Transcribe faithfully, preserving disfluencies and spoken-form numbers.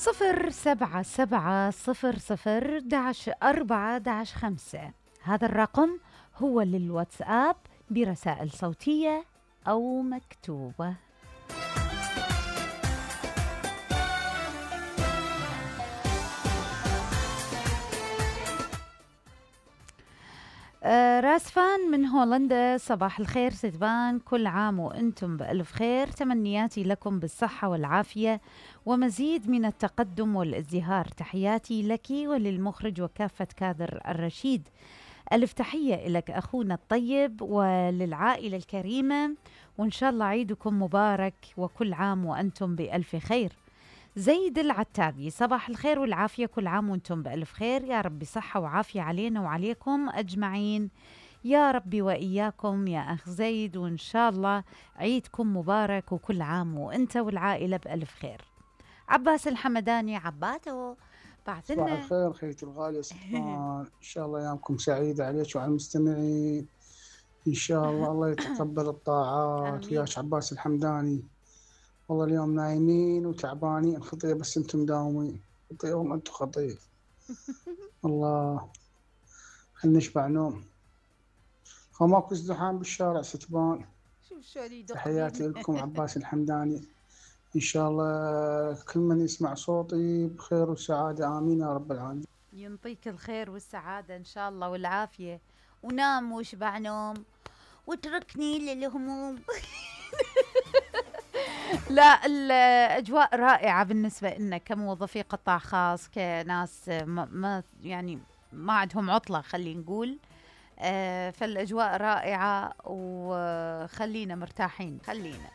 صفر سبعة سبعة صفر صفر داش أربعة داش خمسة. هذا الرقم هو للواتساب برسائل صوتية أو مكتوبة. آه راسفان من هولندا، صباح الخير ستبان، كل عام وأنتم بألف خير، تمنياتي لكم بالصحة والعافية ومزيد من التقدم والازدهار، تحياتي لك وللمخرج وكافة كادر الرشيد. ألف تحية لك أخونا الطيب وللعائلة الكريمة، وإن شاء الله عيدكم مبارك وكل عام وأنتم بألف خير. زيد العتابي، صباح الخير والعافية، كل عام وانتم بألف خير، يا رب صحة وعافية علينا وعليكم أجمعين يا ربي وإياكم يا أخ زيد، وإن شاء الله عيدكم مبارك وكل عام وانت والعائلة بألف خير. عباس الحمداني، عباتو بعثنا. صباح الخير خيتي الغالية ستبان، إن شاء الله أيامكم سعيدة عليك وعلى المستمعين، إن شاء الله الله يتقبل الطاعات وياك عباس الحمداني. والله اليوم نايمين وتعبانين خطية، بس انتم مداومين خطية وانتم خطية. الله خلنا نشبع نوم، ماكو ازدحام بالشارع ستبان. تحياتي لكم عباس الحمداني، إن شاء الله كل من يسمع صوتي بخير وسعادة، آمين يا رب العالمين. ينطيك الخير والسعادة إن شاء الله والعافية، ونام واشبع نوم واتركني للهموم. لا، الأجواء رائعة بالنسبة لنا كموظفي قطاع خاص، كناس ما, ما يعني ما عندهم عطلة خلينا نقول. آه فالأجواء رائعة وخلينا مرتاحين، خلينا